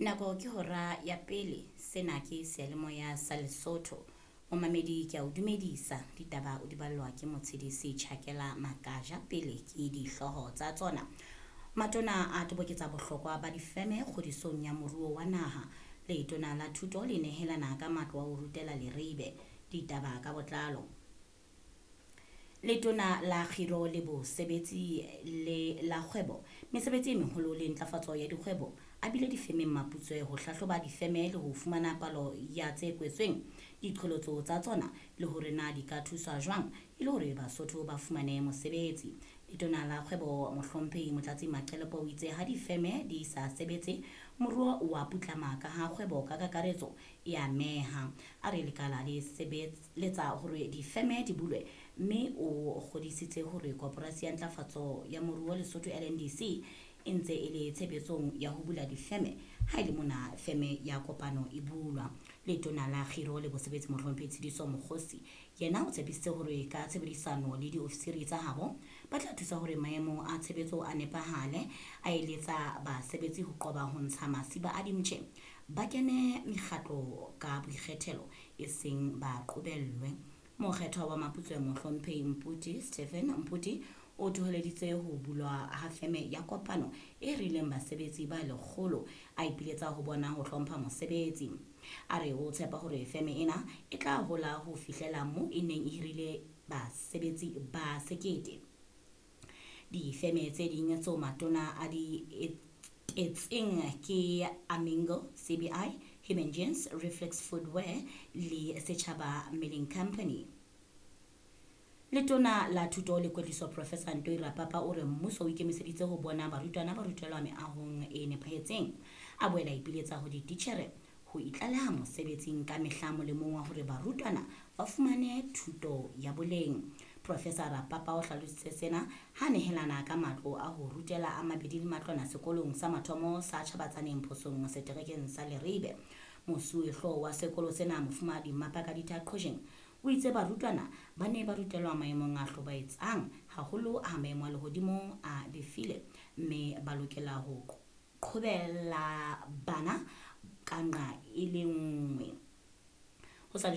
Nako ke hora ya pele, sena ke seyalemoya sa Lesotho. Momamedi ke a o dumedisa, ditaba o di ballwa ke Motshedisi Tjhakela Makaja pele ke dihlooho tsa tsona. Matona a toboketsa bohlokwa ba difeme kgodisong ya moruo wa naha. Letona la thuto le nehelana ka matlo a ho rutela Leribe. Ditaba ka botlalo. Letona la Kgiro le Bosebetsi le la Kgwebo, Mesebetsi e Meholo le Ntlafatso ya Dikgwebo a bile difemeng Maputswe ho hlahloba difeme le ho fumana palo ya tse kwetsweng, diqholotso tsa tsona le hore na di ka thuswa jwang e le hore Basotho ba fumane mosebetsi. Letona la Kgwebo Mohlomphehi Motlatsi Maqelepo o itse ha difeme di sa sebetse, moruo o a putlama ka ha kgwebo ka kakaretso e ameha. A re lekala le sebeletsa hore difeme di bulwe mme o kgodisitse hore Koporasi ya Ntlafatso ya Moruo Lesotho LNDC e ntse e le tshebetsong ya ho bula difeme ha e le mona feme ya kopano e bulwa. Letona la Kgiro le Bosebetsi Mohlomphehi Tshidiso Mokgosi yena o tshepisitse hore ka tshebedisano le diofisiri tsa habo ba tla thusa hore maemo a tshebetso a nepahale, a eletsa basebetsi ho qoba ho ntsha masiba a dimtjhe, ba kene mekgatlo ka boikgethelo e seng ba qobellwe. Mokgethwa wa Maputswe Mohlomphehi Mputi Stephen Mputi o thoholeditse ho bulwa ha feme ya kopano e rileng basebetsi ba lekgolo, a ipiletsa ho bona ho hlompha mosebetsi. A re o tshepa hore feme ena e tla hola ho fihlela moo e neng e hirile basebetsi ba 1000. Difeme tse ding tseo matona a di etetseng ke Amingo, CBI, Human Jeans, Reflex Footwear le Setjhaba Milling Company. Letona la Thuto le Kwetliso Professor Ntoi Rapapa o re mmuso o ikemiseditse ho bona barutwana ba rutelwa meahong e nepahetseng. A boela ipiletsa ho dititjhere ho itlaleha mosebetsing ka mehla molemong wa hore barutwana ba fumane thuto ya boleng. Professor Rapapa o hlalositse sena ha nehelana ka matlo a ho rutela a mabedi le matlwana sekolong sa mathomo sa Tjhabatsaneng Phosong seterekeng sa Leribe. Mosuwehlooho wa sekolo sena Mofumahadi Mapakaditha Qhojeng o itse barutwana ba ne ba rutelwa maemong a hlobaetsang haholo ha maemo a lehodimo a befile, mme ba lokela ho qhobella bana ka nqa e le nngwe.